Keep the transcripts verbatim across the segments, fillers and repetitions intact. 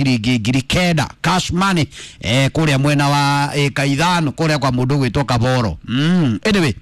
Ciringi ngiri kenda cash money eh kuria mwena wa eka ithano kuria kwa mundu gwitwo Kaboro. mm. Anyway,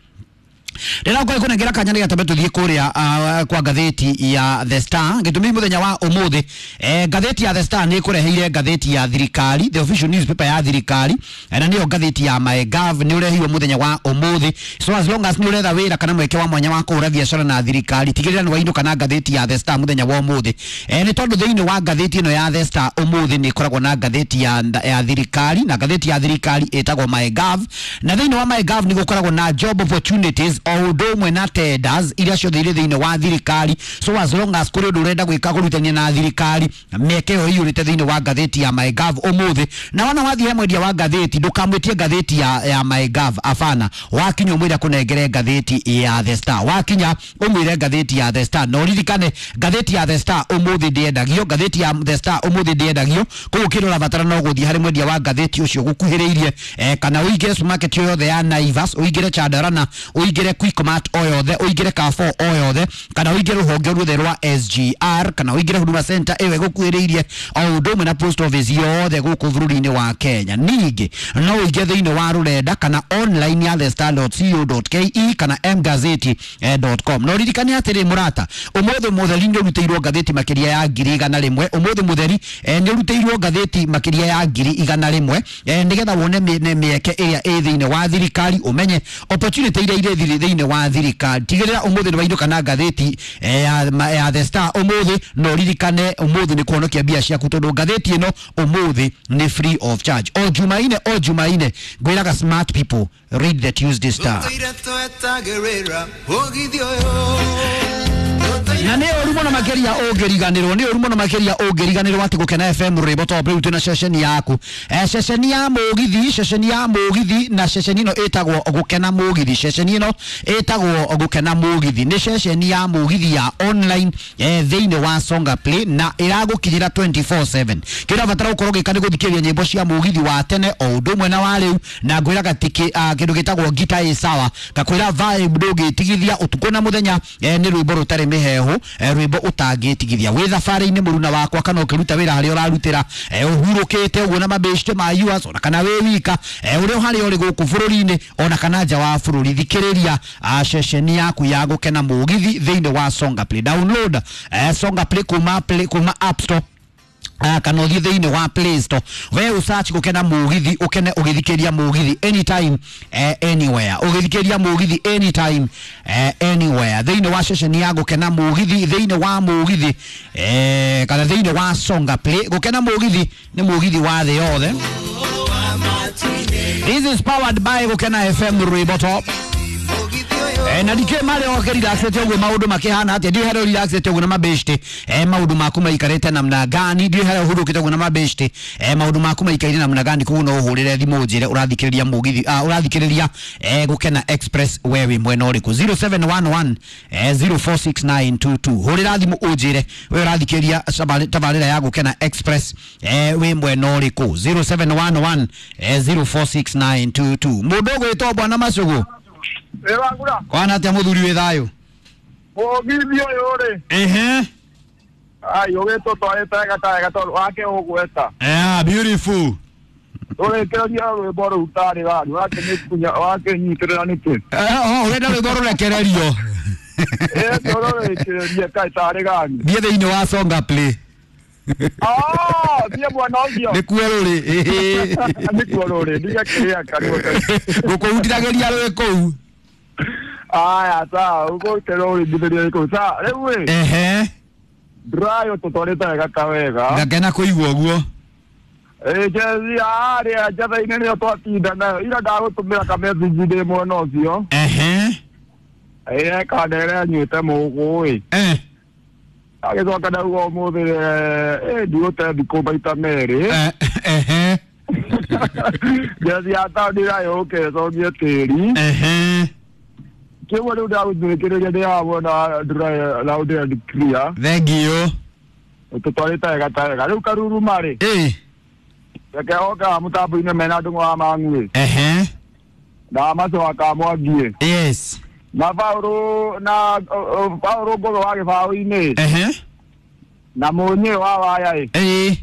rĩrĩa ngũĩ kũnengera kanya nĩ gatambe tũthiĩ kũrĩa uh, kwa ngathĩti ya The Star. Gĩtũmi mũthenya wa ũmũthĩ, eh, ngathĩti ya The Star nĩ ĩkũreheire ngathĩti ya thirikari, the official newspaper ya thirikari, eh, na nĩyo ngathĩti ya MyGov nĩ ũrehirwo mũthenya wa ũmũthĩ. So as long as nĩ ũretha wĩra kana mweke wa mwanya wa kũhũra biacara na thirikari, tigĩrĩra nĩ wainũka na ngathĩti ya The Star mũthenya wa ũmũthĩ, eh, nĩ tondũ thĩinĩ wa ngathĩti ĩno ya The Star ũmũthĩ nĩ ĩkoragwo na ngathĩti ya, ya thirikari, na ngathĩti ya thirikari ĩtagwo MyGov, na thĩinĩ wa MyGov nĩ gũkoragwo na job opportunities o ũndũ ũmwe na tenders iria ciothe irĩ thĩinĩ wa thirikari. So as long as kũrĩ ũndũ ũrenda gwĩka kũrutania na thirikari, mĩeke ĩyo ĩiyũrĩte thĩinĩ wa ngathĩti ya MyGov ũmũthĩ. Na wona wathiĩ he mwendia wa ngathĩti, ndũkamwĩtie ngathĩti ya, ya MyGov, abana. Wakinya ũmwĩre akũnengere ngathĩti ya The Star, wakinya ũmwĩre ngathĩti ya The Star, na ũririkane ngathĩti ya The Star ũmũthĩ ndĩendagio, ngathĩti ya The Star ũmũthĩ ndĩendagio. Koguo kĩrĩa ũrabatara no gũthiĩ harĩ mwendia wa ngathĩti ũcio gũkuhĩrĩirie, eh, kana ũingĩre supermarket yothe ya Naivas, ũingĩre Chandarana, ũingĩre Quickmart o yothe, ũingĩre Carrefour o yothe, kana ũingĩre rũhonge ruothe rwa S G R, kana ũingĩre Huduma Center ĩyo ĩgũkuhĩrĩirie, o ũndũ ũmwe na post office yothe gũkũ bũrũri-inĩ wa Kenya. Ningĩ no ũingĩre thĩinĩ wa rũrenda kana online ya the star dot co dot ke kana mgazeti dot com. Na ũririkane atĩrĩ mũrata, ũmũthĩ mũtheri nĩ ũrutĩirwo ngathĩti makĩria ya ngiri igana rĩmwe. Ũmũthĩ mũtheri nĩ ũrutĩirwo ngathĩti makĩria ya ngiri igana rĩmwe, nĩgetha wone mĩeke ĩrĩa ĩ thĩinĩ wa thirikari, ũmenye opportunity iria irĩ thĩinĩ wa thirikari. Tigĩrĩra ũmũthĩ nĩ wainũka na ngathĩti ya, ya The Star ũmũthĩ, na ũririkane ũmũthĩ nĩ kũhonokia mbia ciaku tondũ ngathĩti ĩno ũmũthĩ nĩ free of charge. O Jumaine, o Jumaine ngwĩraga smart people read the Tuesday Star. Na nĩ ũru mũno makĩria ũngĩriganĩrwo, nĩ ũru mũno makĩria ũngĩriganĩrwo atĩ Gũkena F M rwĩmbo top rĩu twĩna ceceni yaku, eh, ceceni ya mũgithi, ceceni ya mũgithi, na ceceni ĩno ĩtagwo Gũkena Mũgithi. Ceceni ĩno ĩtagwo Gũkena Mũgithi nĩ ceceni ya mũgithi ya online, eh, thĩinĩ wa Songa Play, na ĩragũkinyĩra twenty four seven. Kĩrĩa ũrabatara gũkorwo ũgĩka nĩ gũthikĩrĩria nyĩmbo cia mũgithi wa tene o ũndũ ũmwe na wa rĩu, na ngwĩraga atĩ kĩndũ gĩtagwo ngita ĩ sawa, ngakwĩra vibe ndũngĩtigithia ũtukũ na mũthenya, eh, nĩ rwĩmbo rũtarĩ mĩhehu, rwĩmbo ũtangĩtigithia wĩ thabarĩ-inĩ mũruna wakwa, kana ũkĩruta wĩra harĩa ũrarutĩra, ũhurũkĩte ũguo na mabĩcite ma yours, ona kana wĩ wika, ũrĩa harĩa ũrĩ gũkũ bũrũri-inĩ ona kana nja wa bũrũri. Thikĩrĩria ceceni yaku ya Gũkena Mũgithi thĩinĩ wa Songa Play. Download Songa Play kuma Play, kuma App Store kana ũthiĩ thĩinĩ wa Play Store, we ũsearch Gũkena Mũgithi, ũkene ũgĩthikĩria mũgithi anytime, eh, anywhere, ũgĩthikĩria mũgithi anytime, eh, anywhere, thĩinĩ wa ceceni ya Gũkena Mũgithi, thĩinĩ wa mũgithi, eh, kana thĩinĩ wa Songa Play. Gũkena Mũgithi nĩ mũgithi wa thĩ yothe. This is powered by Gũkena F M rwĩmbo top. Eh, na ndikĩ marĩa oke relaxete ũguo maũndũ makĩhana atĩa, ndiũĩ harĩa relaxete ũguo na mabĩcite, eh, maũndũ maku maikarĩte namna gani, ndiũĩ harĩa ũhurũkĩte ũguo na mabĩcite, eh, maũndũ maku maikaire namna gani. Koguo no ũhũrĩre thimũ ũnjĩre ũrathikĩrĩria mũgithi, ah, ũrathikĩrĩria eh, Gũkena Express we wĩ mwena ũrĩkũ. Zero seven one one, eh, zero four six nine two two. Hũrĩra thimũ ũnjĩre we ũrathikĩrĩria tabarĩra ya Gũkena Express, eh, wĩ mwena ũrĩkũ. Zero seven one one, eh, zero four six nine two two. Mũndũ ũgwĩtwo Bwana Macũgũ. Ewangura. Kwana atia muthuri wi thayo? Mũgithi ũyũ rĩ. Ehe. Ai ũgĩtwo twarĩte wega ta wega tondũ wake ũgweta. Yeah, beautiful. Ũrekereria rwĩmbo rũu tarĩ gani, wakĩnyikunya wakĩnyitĩrĩra nĩkĩ? Eh, oh, ũrenda rwĩmbo rũrekererio. Eh, rũrekererie kaĩ tarĩ gani. Thiĩ thĩinĩ wa Songa Play. Ah, thiĩ mwena ũcio. Nĩkuo rũrĩ. Nĩkuo rũrĩ, ndigakĩrĩa kanua. Ngũkũhutithagĩria rwĩ kũu. Aya, sawa, ũgũkerwo ũringithĩrie kũu. Sawa, rĩu ĩ. Ehe. Ndũrayo tũtwarĩte wega ta wega. Ngakena kũigua ũguo. Ĩ, jezi harĩa njatha-inĩ nĩyo twatinda nayo. Ira ndagũtũmĩra ka message ndĩ mwena ũcio. Ehe. Ĩ, kanere anyuĩte mũgũ ĩ. Eh. Agĩcoka ndauga ũmũthĩ, ĩ, ndigũte thikũ maita merĩ. Ehe. Jezi ya taũni ĩrayũke ĩcogie tĩri. Ehe. Kĩguo rĩu ndagũthikĩrĩria ndĩramwona ndũrayo loud and clear. Thank you. Tũtwarĩte wega ta wega. Rĩu karuruma rĩ. Ĩ. Reke oka mũtambo-inĩ mena ndũng'ũ wa Mang'ui. Ehe. Na Macoa ka Mwangi. Yes. Na Paũlũ na Paũlũ Ngũgĩ wa gĩbaũ-inĩ. Ehe. Na Mũnyĩ wa waya ĩ. Ĩ.